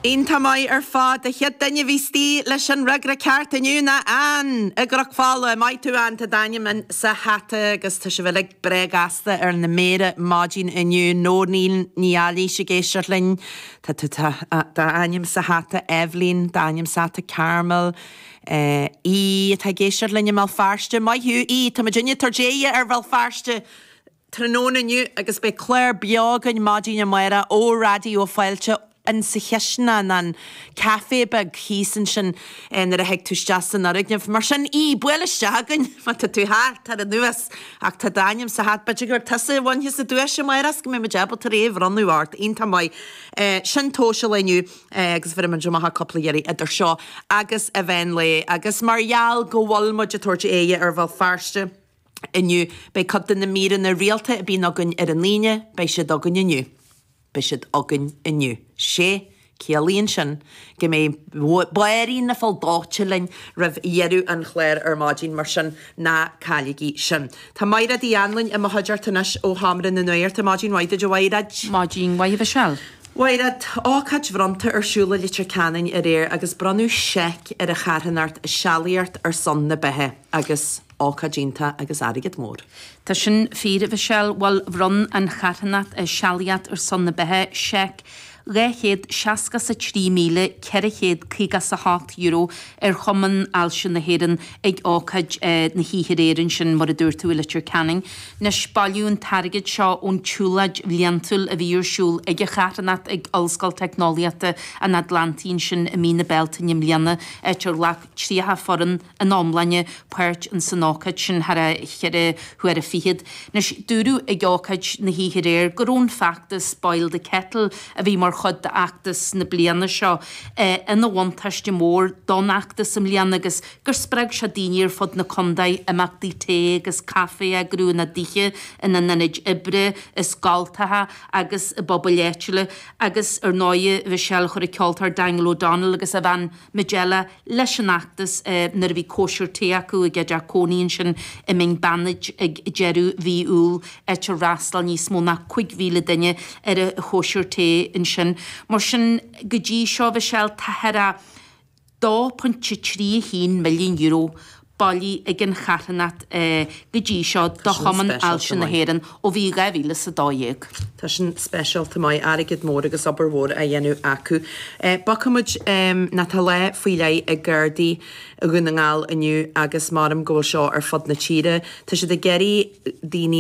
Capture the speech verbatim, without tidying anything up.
Iontach maith ar fad an chéad duine a bhí istigh leis an fhreagra ceart inniu ná Ann i gCnoc Fola maith thú Ann tá d'ainm sa hata agus tá sibh uilig breá gasta ar na méara maidin inniu Nóirín Ní Eilís ag éisteacht linn Tá d'ainm sa hata Evelyn d'ainm sa hata Carmel. Uh, í atá ag éisteacht linn i mBéal Feirste maith thú í Tá duine tar déhe ar Bhéal Feirste tráthnóna inniu agus beidh clár beo againn maidin amárach ó Raidió Fáilte in sa chisteanach an café beag thíos ansin nuair a thig tú isteach san fhoirgneamh. Mar sin í buail isteach againn má tá tú thart ar anuas ach tá d'ainm sa hat b'fhéidir gur tusa a bhainfeas an duais amárach go mbeidh muid ábalta é a bhronnadh ort iontach maith. Sin tomhas inniu agus bhí amach cúpla iarraidh idir seo agus an mheán lae agus mar gheall go bhfuil muid ag tabhairt aghaidh ar Bhéal Feirste inniu beidh cuid de na míreanna rialta a bhíonn againn ar an Aoine, beidh siad againn inniu. Beidh siad againn inniu. Sé ciallaíonn sin go mbeidh Máirín na Fáil linn roimh dheireadh an chláir ar maidin mar sin ná cailligí sin. Tá Mairéad Uí Anluain i mo chuideachta anois ó Sheomra na Nuachta maidin mhaith duit a Mhairéad. Maidin mhaith Michelle. Mairéad ócáid bhronnta ar siúl i Leitir Ceanainn aréir agus bronnadh seic ar an charthanacht Sealaíocht ar son na beatha agus ócáid iontach agus airgead mór. Tá sin fíor Michelle bhuel bhronn an charthanacht Sealaíocht ar son na beatha seic dhá chéad seasca sa trí míle ceithre chéad caoga sa hocht euro ar Chumann Ailse na hÉireann ag ócáid na hoíche aréir ansin mar a dúirt tú i Leitir Ceanainn. Anois bailíodh an t-airgead seo ón tsiúlóid bhliantúil a bhí ar siúl ag an charthanacht ag Ollscoil Teicneolaíochta an Atlantaigh ansin i mí na Bealtaine i mbliana áit ar ghlac tríocha foireann in iomláine páirt in san ócáid sin thar a cheithre huaire fichead. Anois dúradh ag ócáid na hoíche aréir go raibh an feachtas Boil the Kettle a bhí mar chuid d'fheachtas na bliana seo ina bhuntáiste mór don fheachtas i mbliana agus gur spreag sé daoine ar fud na contae imeachtaí tae agus caife a eagrú ina dtithe ina n-ionaid oibre i scoltacha agus i bpobail áitiúla agus ar ndóigh Michelle chuir an ceoltóir Daniel O'Donnell agus a bhean Majella leis an fheachtas nuair a bhí cóisir tae acu i gcead cónaí ansin i mBinn Beannaid ag deireadh mhí Iúil áit ar fhreastail níos mó ná cúig mhíle duine ar a chóisir tae ansin. Mar sin go dtí seo Michelle tá thar a dó pointe trí a haon milliún euro bailithe ag an charthanacht go dtí seo do Chumann Ailse na hÉireann ó bhí dhá mhíle sa dó dhéag. Tá sin speisialta maith airgead mór agus obair mhór á dhéanamh acu. Bogfaimid ná tá lá faoi leith ag Gardaí Dhún na nGall inniu agus maram go bhfuil seo ar fud na tíre. Tá siad ag iarraidh daoine